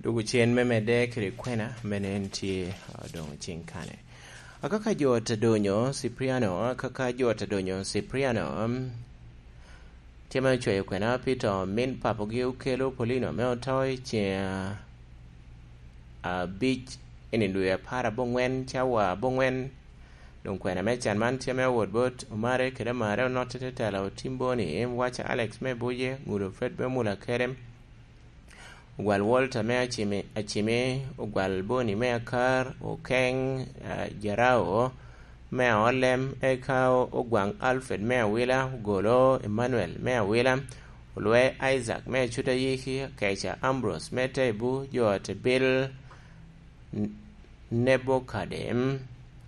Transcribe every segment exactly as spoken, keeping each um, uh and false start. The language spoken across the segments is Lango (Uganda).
Dwogo cen me medde kede kwena me nen tye, ah, doŋ cing kane. Akaka jo ot adonyo Cipriano, akaka jo ot adonyo Cipriano, mm, tye me ocweyo kwena pi to min papogi Okelo Polino me oto i ceng abic i nino dwe apar aboŋwen, cawa aboŋwen. Doŋ kwena me can man tye me owot bot Omare kede Amare, onotte te tela Otim Boni, Waca Alex me Buje, Ŋudo Fred me Mula Kerem, Ogwal Walter me Acimi, Acimi, Ogwal Boni me Akar, Okeng, ah, Jarao me Aolem, eka o-, Ogwaŋ Alfred me Awila, Ogolo Emmanuel me Awila, Olwe Isaac me Acut Ayiki, Keca Ambrose me Tebu, jo ot Bil, N-, Nebokadem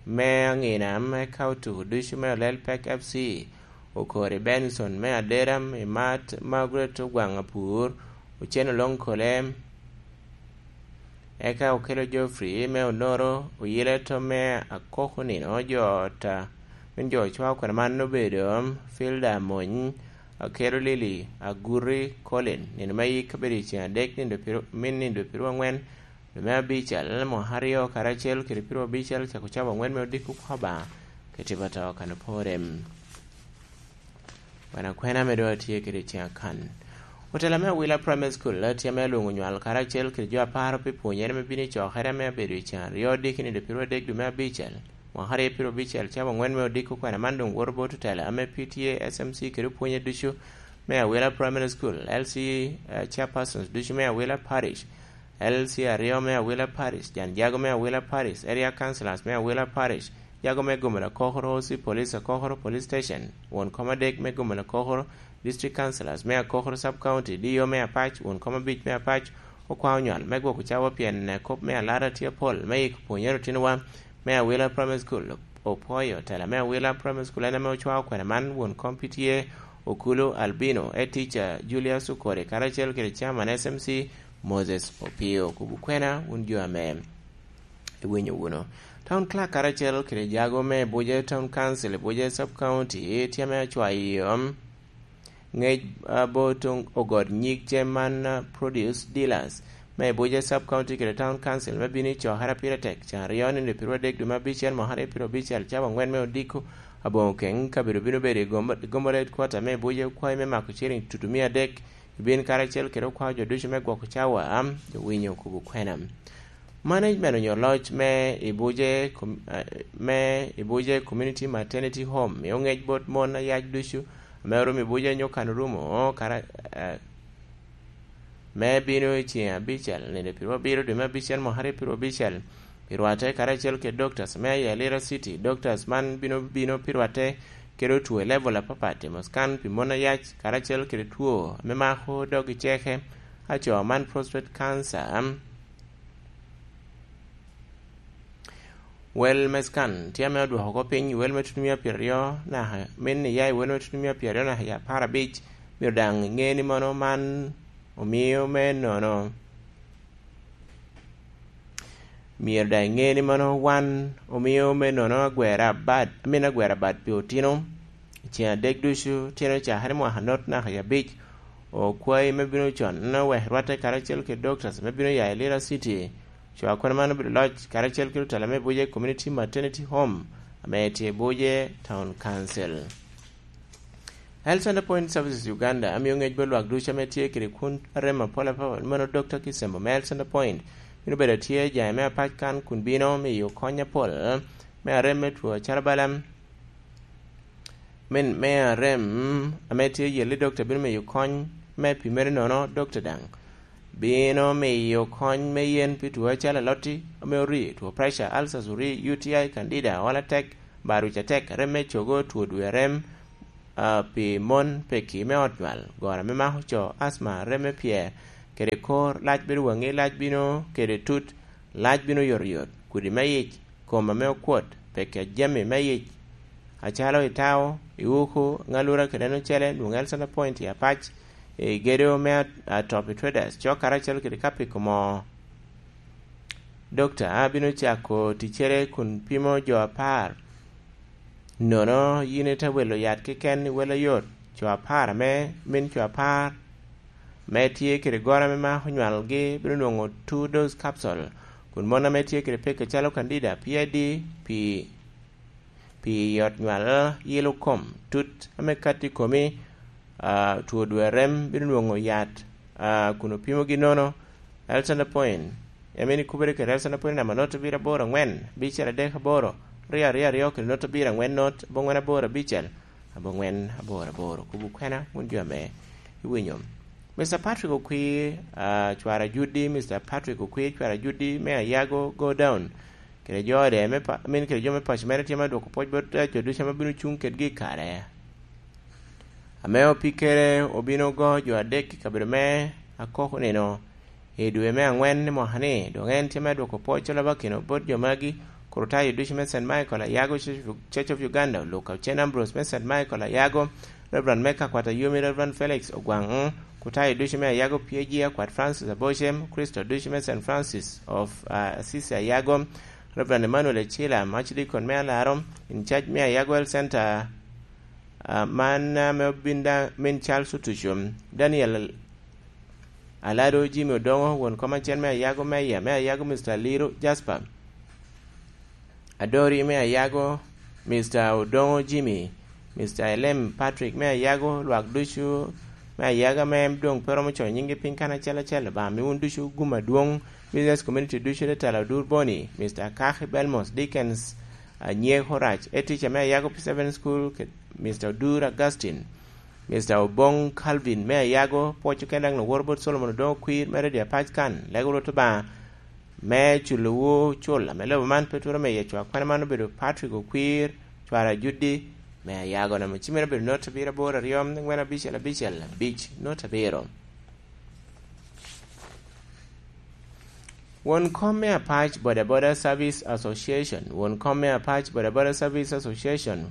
me Aŋina, eka otuko ducu me Olel Pek F C, Okori Benson me Adera, Imat Margaret Ogwaŋ Apur, Ocen Oloŋ Kolem, eka Okelo Geoffrey me Onoro, Oyile Tom me Akoko Nino, jo ot, a, min jo ocwao kwena man obedo, Filda Mony, Akelo Lili, Aguri Colin, nino me yik kabedo i ceng adek, nindo piru-, min nindo piru aŋwen, dwe me abicel, mwaka aryo karacel kede piru abicel, cako cawa aŋwen me odiko kwaba, kede tipo ato kan opore. Kwena kwena ame doŋ atye kede i ceng akan. Otela me Awila Primary School tye ame alwoŋo nywal karacel kede jo aparo pi pwonyere me bino i cokere ame abedo i ceng aryo diki nindo piru adek dwe me abicel, mwaka aryo piru abicel, cawa aŋwen me odiko kwena man doŋ woto bot otela ame P T A, S M C kede opwonye ducu me Awila Primary School, L C, eh, chairpersons ducu me Awila Parish, L C aryo me Awila Parish, jan jago me Awila Parish, area councillors me Awila Parish, jago me Gomel Akokoro, O C Police Akokoro Police Station, won kom adek me Gomel Akokoro, district councillors me Akokoro Sub County, D O me Apac, won kom abic me Apac, okwao nywal me gwoko cawa pien kop me alara tye apol me yiko pwonyere otinowa me Awila Primary School. Opwoyo tela me Awila Primary School en ame ocwao kwena man, won kom P T A Okulu Albino, head teacher Julius Okori, karacel kede chairman S M C Moses Opio. Kubu kwena, wun jo ame iwinyo wunu. Town Clerk karacel kede jago me Abuja Town Council, Abuja Sub County, tye ame acwayo ŋec, ah, bot ogot nyig cem man, ah, produce dealers me Abuja Sub County kede Town Council me bino i cokere pire tek, can aryo nino piru adek dwe me abicel, mwaka aryo piru abicel, cawa aŋwen me odiko, aboŋo keŋ kabedo bino bedo i Gombo-, Gombo Headquarter me Abuja, okwayo me mako ciring tutu mia adek, ibin karacel kede okwao jo ducu me gwoko cawa, am, jo winyo kubo kwena. Management onyo loc me Ibuje com-, eh, me Ibuje Community Maternity Home mio ŋec bot mon ayac ducu ame orumo Ibuje onyo kan orumo kara-, eh, me bino i ceng abicel, nino piru abiro dwe me abicel, mwaka aryo piru abicel, pi rwatte karacel kede doctors me Ayalira City. Doctors man bino, bino pi rwatte kede otwo i level apapat, timo scan pi mon ayac karacel kede two ame mako dog i ceke, aco man prostate cancer. Wel me scan tye ame odwoko oko piny i wel me tutumia pyeraryo naka, min iya i wel me tutumia pyeraryo naka i apar abic, myero daŋ iŋe ni mono man omio me nono. Myero daŋ iŋe ni mono wan omio me nono agwera abad, amin agwera abad pi otino. I ceng adek ducu, tyen ocakere mwaka not naka i abic, okwayi me bino con, wek rwatte karacel kede doctors me bino ya i Lira City. Cwa kwena man obedo loc karacel kede otela me Abuja Community Maternity Home, ame tye Abuja Town Council. Health Center Point Services Uganda amio ŋec bot lwak ducu ame tye kede kun arem apol apol, mano Doctor Kisembo me Health Center Point, bino bedo atye jai me apac kan kun bino miyo kony apol me arem me two acalo bala, min me arem ame tye yelli, doctor bino miyo kony me pimere nono, doctor daŋ bino miyo kony me yen pi two acalo alotti ame ori, two pressure, ulcers ori, U T I, candida, ol atek, barwic atek, rem me cogo, two dwe rem, ah, pi mon, peki me ot nywal, goro ame mako co, asma, rem me pyer, kede kor, lac bedo waŋi, lac bino kede tut, lac bino yotoyot, kudi me yic, kom ame okwot, peki a jami me yic, acalo i tao, i uku, ŋalura kede en ocele, nwoŋo Health Center Point i Apac, i gedo me at-, Atop i Traders, cok karacel kede Kapiko moo. Dokta a bino cako ticcere kun pimo jo apar. Nono yin ite welo yat keken i wel ayot, co apar ame, min co apar ame tye kede goro ame mako nywalgi bino nwoŋo two dose capsule, kun mon ame tye kede pek acalo candida, P I D, pi, pi yot nywal, yelo kom, tut ame katti i komi, ah, two dwe rem bino nwoŋo yat, ah, kun opimogi nono. Alexander Point, ame ni kubere kede Alexander Point namba not abiro aboro angwen, abicel adek aboro, ryo aryo aryo kede not abiro angwen not, abongwen aboro abicel, abongwen aboro aboro. Kubu kwena, wun jo ame iwinyo. Mister Patrick Okwir, ah, cwara Judi, Mister Patrick Okwir, cwara Judi me Ayago, go down. Kede jo ode me pa-, I mean, kede jo me paco mere tye ma dwoko pwoc bot, eh, jo ducu ame bino cuŋ kedgi i kare ame opikkere obino go jo adek i kabedo me Akoko nino i dwe me angwen i mwaka ni, dok en tye me dwoko pwoc Olabakino bot jo magi, Kurutayo ducu me Saint Michael Ayago, Church of, Church of Uganda, Oluk Aucen Ambrose me Saint Michael Ayago, Reverend Meka Kwata Yumi, Reverend Felix Ogwaŋ, Kutayo ducu me Ayago P A G, Akwat Francis Abocem, Kristo ducu me Saint Francis of, uh, Assisi Ayago, Reverend Emmanuel Ecila, Archdeacon me Alaro, in charge me Ayago Health Center, uh, man, uh, me obin da, min Charles Otuco, Daniel Alado, Jimmy Odongo, won kom acel me Ayago, Meya me Ayago, Mister Aliro Jasper, Adori me Ayago, Mister Odongo Jimmy, Mister Elem Patrick me Ayago, lwak ducu me Ayago ame doŋ pe romo coyo nyinggi piny kan acel acel, Obaŋa mi wun ducu gum adwoŋ, business community ducu, Tetela Odur Boni, Mister Kaki Belmos, Dickens Anyeko Rac, head teacher me Ayago P seven School, ke-, Mister Odur Augustine, Mister Oboŋ Calvin me Ayago, pwoc oken daŋ woro bot Solomon Odoŋo Kwir me Radio Apac kan, lego Rwot Obaŋa, me culowu cul, ame lobo man pe twero miyo cwa kwane man obedo Patrick Okwir, cwara Judi, me Ayago, namba cimere obedo not abiro aboro aryo, angwen abicel abicel abic, not abiro. Won kom me Apac Boda Boda Service Association, won kom me Apac Boda Boda Service Association,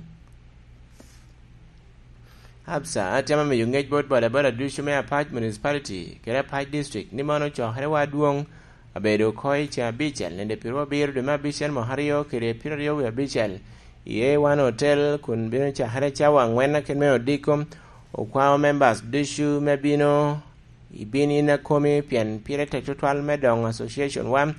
ABSA, atemo miyo ŋec bot bodaboda ducu me Apac Municipality kede Apac District ni mano cokere wa adwoŋ abedo oko i ceŋ abicel, nende piro abiro dwe me abicel mwaka aryo kede piro aryo wie abicel, i A one Hotel, kun bino cakere cawa angwen akin me odiko. Okwao members ducu me bino i bin in akomi, pien pire tek tutwal me doŋo association wa.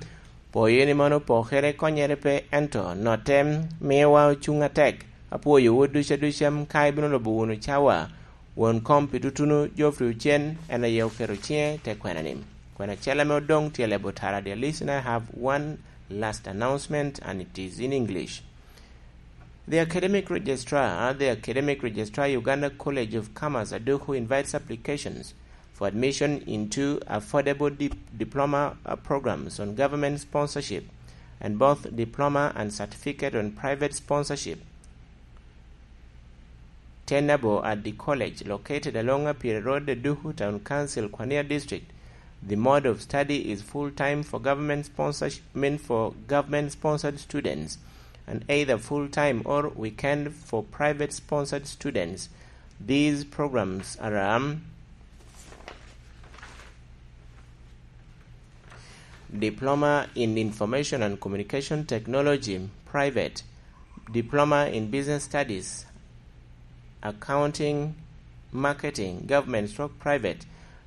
Pwoyo ni mano pokere konyere pe, ento notte miyowa ocuŋ atek. Apwoyowu ducu aduca, ka ibino lubo wunu cawa. Won kom pi tutunu, Geoffrey Ocen, en aye oketo ciŋe te kwena ni. Kwena acel ame odoŋ tye lebo tara, dear listener, I have one last announcement and it is in English. The academic registrar, the academic registrar, Uganda College of Commerce, Aduku, invites applications for admission into affordable dip-, diploma, uh, programs on government sponsorship and both diploma and certificate on private sponsorship tenable at the college located along Apire Road, Aduku Town Council, Kwania District. The mode of study is full-time for government sponsorship, meant for government-sponsored students, and either full-time or weekend for private-sponsored students. These programs are, um, Diploma in Information and Communication Technology, private, Diploma in Business Studies, Accounting, Marketing, government stroke private,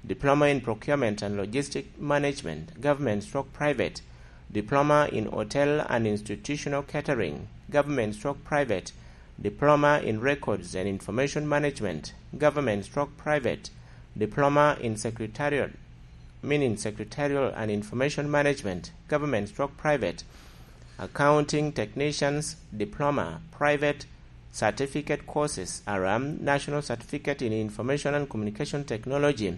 Diploma in Procurement and Logistic Management, government stroke private, Diploma in Hotel and Institutional Catering, government stroke private, Diploma in Records and Information Management, government stroke private, Diploma in Secretarial, meaning Secretarial and Information Management, government stroke private, Accounting Technicians, Diploma, private, certificate courses are, um, National Certificate in Information and Communication Technology,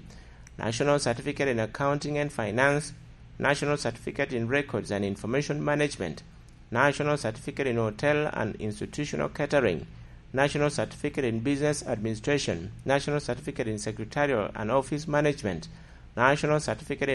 National Certificate in Accounting and Finance, National Certificate in Records and Information Management, National Certificate in Hotel and Institutional Catering, National Certificate in Business Administration, National Certificate in Secretarial and Office Management, National Certificate